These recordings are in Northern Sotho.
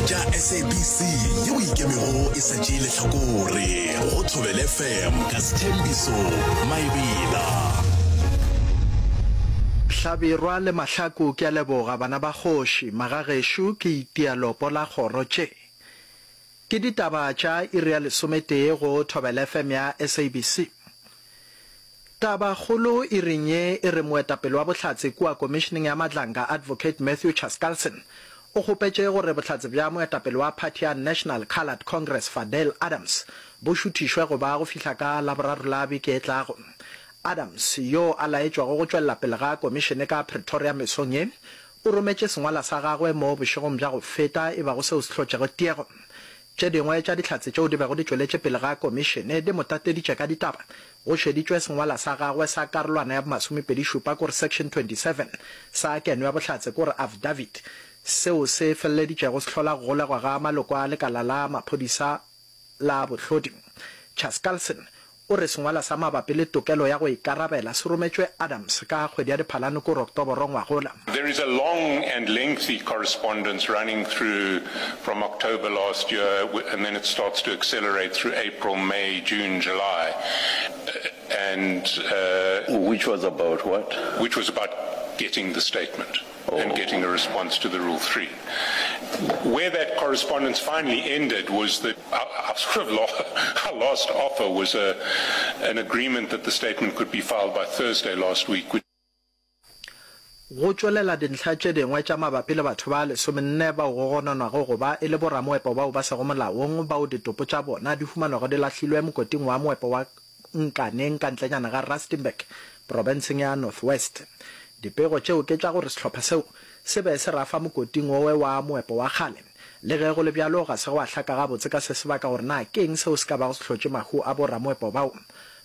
tša SABC yeo e ikemego e sa tšee lehlakore go Thobela FM ka Sthembiso Maebela. Hlabirwa le Mahlaku ke a leboga bana ba kgoši, magagešo ke itia lopo la kgoro tše. Ke ditaba tša iri ya lesometee go Thobela FM ya SABC. Tabakgolo iring ye e re moetapele wa bohlatse kua Komišeneng ya Madlanga Advocate Matthew Chaskalson o kgopetše gore bohlatse bja moetapele wa phathi ya National Coloured Congress Fadel Adams bo šuthišwe go ba go fihla ka Laboraro la beke e tlago. Adams, yo a laetšwago go tšwelela pele ga komišene ka Pretoria mesong ye, o rometše sengwala sa gagwe mo bošegong bja go feta e bago seo se hlotšego tiego. Tše dingwe tša dihlatse tšeo di bego di tšweletše pele ga komišene di mo tateditše ka ditaba. Go šeditšwe sengwala sa gagwe sa karolwana ya bomasomepedišupa kore section 27 sa keno ya bohlatse kore affidavit seo se feleleditšego se hlola go golegwa ga maloko a lekala la maphodisa la bohlodi. Chaskalson o re sengwala sa mabapi le tokelo ya go ikarabela se rometšwe Adams ka kgwedi ya Diphalane kore Oktoboro ngwagola. There is a long and lengthy correspondence running through from October last year and then it starts to accelerate through April, May, June, July and. Which was about what? Which was about getting the statement and getting a response to the Rule 3. Where that correspondence finally ended was that our, our sort of our last offer was a, an agreement that the statement could be filed by Thursday last week. Which Go tšwelela dintlha tše dingwe tša mabapi le batho ba lesomenne bao go gononwago go ba e le boramoepo bao ba sego molaong bao ditopo tša bona di humanwago di lahlilwe mokoting wa moepo wa Nkaneng ka ntlenyana ga Rustenburg, profenseng ya North West. Dipego tšeo ke tša gore sehlopha seo se be se rafa mokoting wowe wa moepo wa kgale. Le ge go le bjalo, ga se gwa hlaka gabotse ka se sebaka gore na ke eng seo se ka bago se hlotše mahu a bo-ramoepo bao.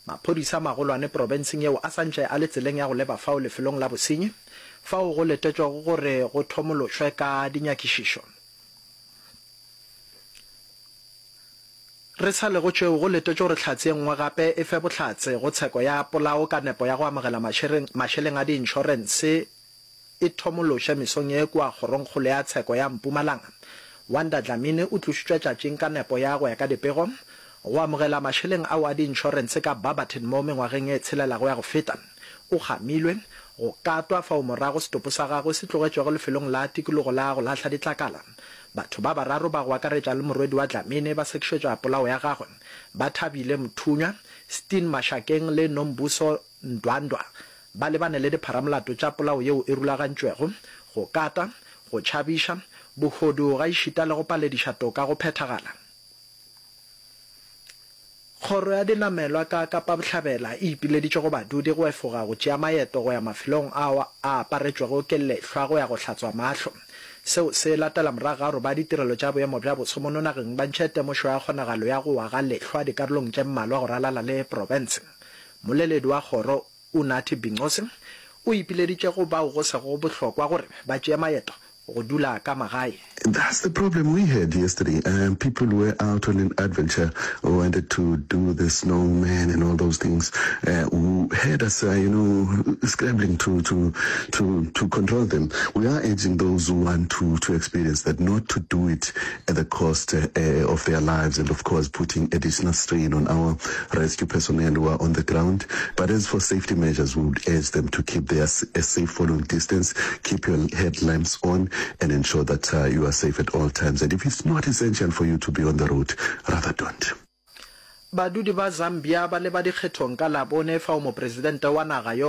Maphodisa a magolwane profenseng yeo a sa ntše a le tseleng ya go leba fao lefelong la bosenyi, fao go letetšwego gore go thomološwe ka dinyakišišo. Re sa le go tšeo, go letetšwe gore hlatse ye nngwe gape e fe bohlatse go tsheko ya polao ka nepo ya go amogela mašeleng a diinšorense e thomološe mesong ye kua Kgorongkgolo ya Tsheko ya Mpumalanga. Wanda Dlamini o tlošitšwe tšatšing ka nepo ya go ya ka dipego go amogela mašeleng ao a diinšorense ka Barberton mo mengwageng ye tshelelago ya go feta. O kgamilwe, go katwa fao morago setopo sa gagwe se tlogetšwego lefelong la tikologo la go lahla ditlakala. Batho ba bararo ba go akaretša le morwedi wa Dlamini ba sekišetšwa polao ya gagwe. Bathabile Mthunywa, Steen Mashakeng le Nombuso Ndwandwa ba lebane le dipharamolato tša polao yeo e rulagantšwego, go kata, go tšhabiša, bohodu gaešita le go palediša toka go phethagala. Kgoro ya Dinamelwa ka Kapa Bohlabela e ipileditše go badudi go efoga go tšea maeto go ya mafelong ao a aparetšwego ke lehlwa go ya go hlatswa mahlo. Seo se latela morago ga gore ba ditirelo tša boemo bja boso mono nageng ba ntšhe temošo ya kgonagalo ya go wa ga lehlwa dikarolong tše mmalwa go ralala le profense. Mmoleledi wa kgoro Unathi Binqose o ipileditše go bao go sego bohlokwa gore ba tšee maeto go dula ka magae. That's the problem we had yesterday. Um, people were out on an adventure, wanted to do the snowman and all those things, uh, who had us, uh, you know, scrambling to, to, to, to control them. We are urging those who want to, to experience that not to do it at the cost uh, of their lives and, of course, putting additional strain on our rescue personnel who are on the ground. But as for safety measures, we would urge them to keep their a safe following distance, keep your headlamps on, and ensure that uh, you are safe at all times. And if it's not essential for you to be on the road, rather don't. Badudi ba Zambia ba leba dikgethong ka Labone fao mopresidente wa naga yo.